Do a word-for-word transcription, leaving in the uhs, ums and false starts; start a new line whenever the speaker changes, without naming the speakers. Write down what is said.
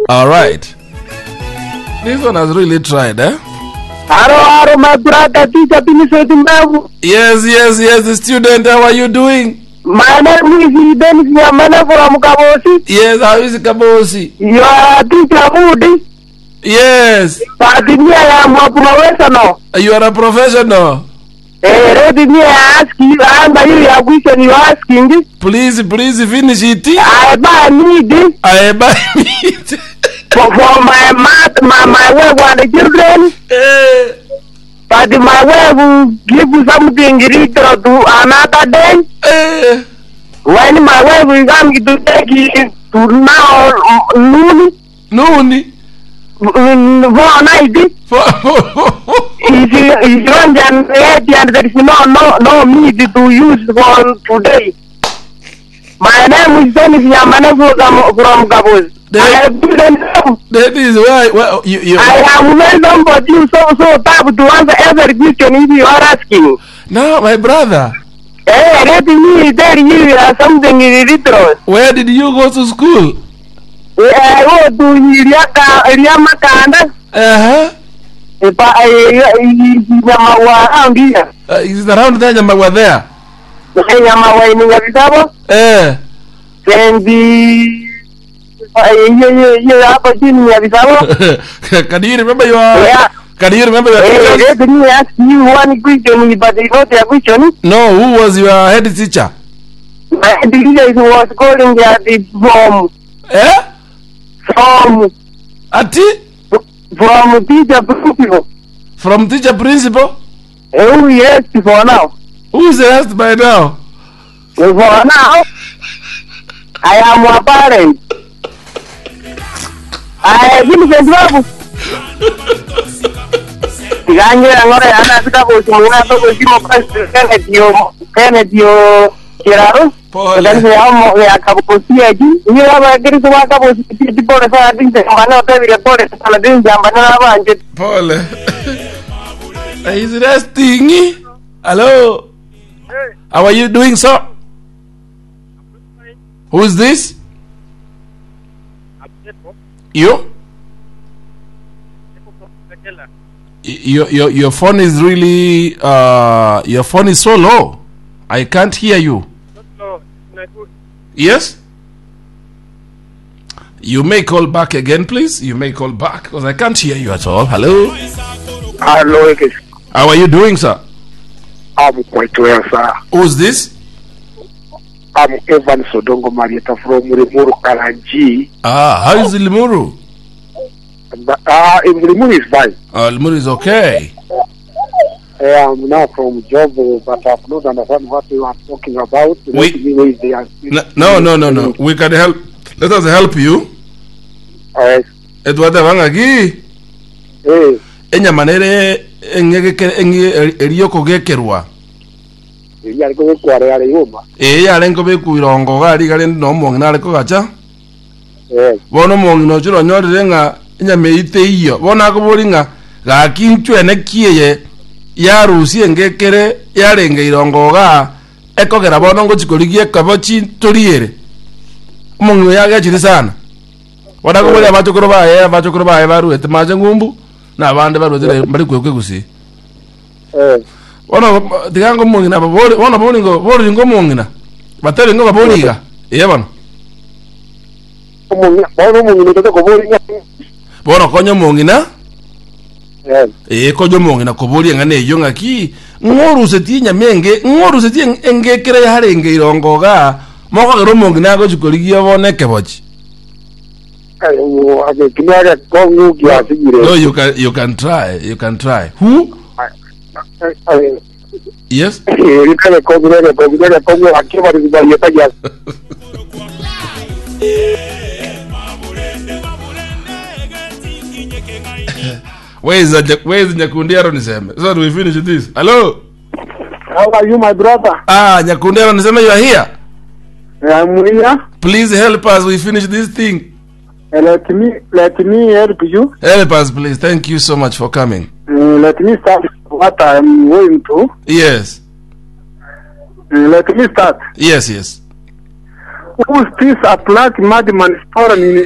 All right. This one has really tried, eh?
Hello, hello, my brother, teacher Vincent Mbavu.
Yes, yes, yes, the student, how are you doing?
My name is Dennis Nyamana from Kabosi.
Yes, how is Kabosi?
You are teacher Moody.
Yes,
But me, I am a professional.
you are a professional.
Eh, let me ask you, answer you your question you asking.
Please, please finish it.
I buy meat
I buy meat.
for, for my math, my, my wife and the children.
Eh,
But my wife will give something little to another day.
eh.
When my wife will come to take it to now noon,
Noon.
mm, four night,
For,
is is one and eight and there is no no no meat to use for today. My name is Dennis Yamane from from Gabos.
They-
I have given them.
that is why well, you, you,
I am well somebody you so so tough to answer every question if you are asking.
Now, my brother,
Hey, let me tell you uh, something in little.
where did you go to school?
I go to Iriaka Iriamakanda.
Uh-huh.
Nyamawa angia.
Uh, is it around there, Nyamagwa there?
Nyamawa ni Nyabitabo.
Eh.
And the hiyo hapo chini ya Bisabo.
can you remember your
Yeah.
Can you remember your
Eh,
teachers?
let me ask you one question, but it's not a question.
No, who was your head teacher?
My teacher was calling at the from
Eh?
from
Ati?
from teacher principal.
From teacher principal?
Oh yes, for now.
Who is the rest by now?
For now, I am a parent. I Vincent Babu. Tiganyera ngore ana sika kusimuna to kusimo Kenneth yo Kenneth yo Kiraro.
Pole.
Kanisa ya mo ya kabusia ji. Ni baba kiri kwa kabusia ji pole sana dinze mbana otebire pole sana dinze mbana abanje.
Pole. He's resting. Hello. How are you doing, sir? Who is this? You? Y- Your, your, your phone is really uh your phone is so low. I can't hear you. Yes? You may call back again, please. You may call back because I can't hear you at all. Hello.
Hello,
How are you doing, sir?
I'm quite well, sir.
Who's this?
I'm Evan Sodongo Marieta from Limuru, Karanji.
Ah, how is Limuru?
But, uh, in Limuru is fine.
Uh, Limuru is okay.
I am now from Jobo, but I've not understand what you are talking about.
We-
Let me wait there.
No, no, no, no. We can help. Let us help you.
Yes.
Edward Wangagi.
Eh,
Enyama nere eng'egeke eng'e eriyoko gekerwa.
eri ariko gwekwa yare yuma.
Ee yarenge bekuirongo gari gari no omong'ina are kogacha.
Yes.
Bono omong'ina ochire onyorire ng'a enyama eywo teiyo. Bono akobori ng'a gaki nchwene kieye yarusia engekere yarenge irongo igaa ekogera bono ngochikorigia ekebo chitoriere. Omong'ina oyo agechire sana. Bono akoboria abachokoro baye abachokoro baye baruete mache ng'umbu na abande baruete bari kwekwa egusii.
Eh,
Bono tiga ngo omong'ina babori bono bori ngo bori ngo omong'ina batebe ngo babori iga ee bono.
omong'ina, bono omong'ina otote kobori ng'a.
Bono konya omong'ina
Yes.
ee konya omong'ina koboria ng'a neywo ng'aki ng'orusetie enyama enge ng'orusetie eng- engekere yarenge irongo igaa mokogera omong'ina agochi korigia bono ekebochi.
Eh, agekina kongu kiasigire.
No, you can you can try you can try. Who?
Eh,
Yes.
eh, kongu kongu kongu akiwa ni barieta ya.
Where is the where is Nyakundi Aaron Niseme? So we finish this. Hello.
How are you my brother?
Ah, Nyakundi Aaron Niseme, you are here.
I'm here.
Please help us. We finish this thing.
Let me let me help you.
Help us, please. Thank you so much for coming.
Uh, let me start what I'm going to.
Yes.
Uh, let me start.
Yes, yes.
Who is this a black madman stolen in